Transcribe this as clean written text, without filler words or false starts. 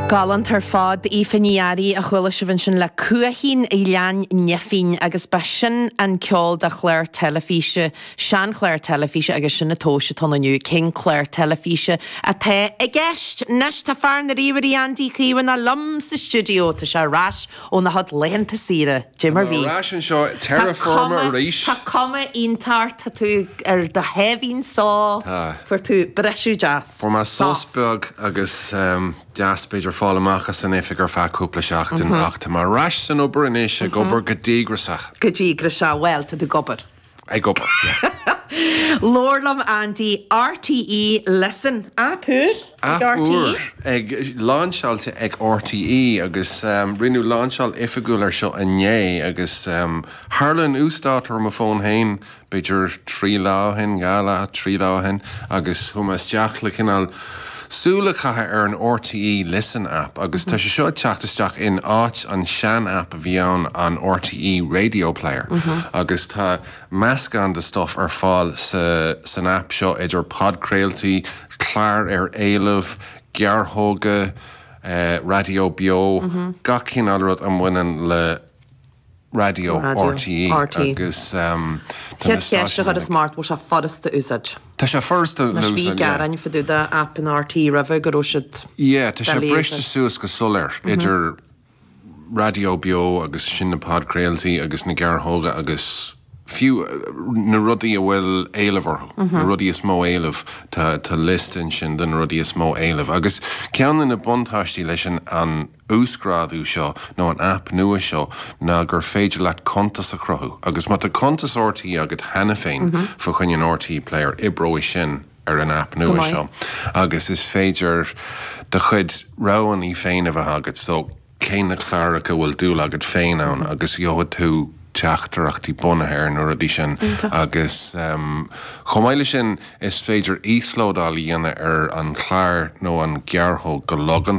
Galánta ar fad, Aoife Ní Fhearraigh a chuala sibh ansin le Cuaichín Ghleann Nifín agus ba sin an ceol de chlár teilifíse, seanchlár teilifíse agus sin an tomhas atá ann inniu, cén clár teilifíse atá i gceist? Anois tá fear na ríomhairí Andy Caomhánach liom sa stiúideo, tá sé ar ais óna chuid laethanta saoire, dé mar bhí. Tá mé ar ais anseo, terra firma arís. Tá cuma iontach ort, tá tú ar do sháimhín só. Tá. Fuair tú briseadh deas. Fuair mé sos beag agus deas b'fhéidir fáil amach as an oifig ar feadh cúpla seachtain ach tá mé ar ais san obair anois, ag obair go díograiseach. Go díograiseach, bhuel, tá tú ag obair. Ag obair, yeah. Labhair liom Andy, RTÉ Listen, aip úr ag Aip RTÉ? úr, ag, lainseáilte ag RTÉ agus rinneadh lainseáil oifigiúil ar seo inné agus tharla an uasdátú ar mo fón féin b'fhéidir 3 lá ó shin, 2 lá, 3 lá ó shin agus chuaigh mé isteach le cineál súil a chaitheamh ar an RTÉ Listen app agus tá sé seo ag teacht isteach in áit an sean app a bhí ann, an RTÉ Radio Player agus tá meascán de stuff ar fáil sa san app seo idir podchraoltaí, cláir ar éileamh, gearrthóga, raidió beo, gach cineál rud a mbaineann le Raidió RTÉ agus tá na Chéad cheist a stáisiúin chuireas ort, bhfuil sé furasta úsáid? Tá sé furasta le Anois bhí úsáid, yeah. gearáin fá dtaobh de aip an RTÉ roimhe go raibh siad Yeah, tá sé doiligh a briste úsáid. suas go soiléir idir raidió beo agus sin na podchraoltaí agus na gearrthóga agus fiú na rudaí a bhfuil éileamh orthu, na rudaí is mó éileamh, tá tá liosta ansin de na rudaí is mó éileamh. Agus ceann de na buntáistí leis an an uasghrádú seo nó an aip nua seo ná gur féidir leat cuntas a chruthú agus má tá cuntas RTÉ agat cheana féin fá choinne an RTÉ Player, oibreoidh sin ar an aip nua seo agus is féidir do chuid roghanna féin a bheith agat so cé na cláracha a bhfuil dúil agat féin ann agus gheobhaidh tú teachtaireachtaí bunaithe ar na rudaí sin agus chomh maith leis sin is féidir íoslódáil a dhéanamh ar an chlár nó an ghearrthóg go logánta.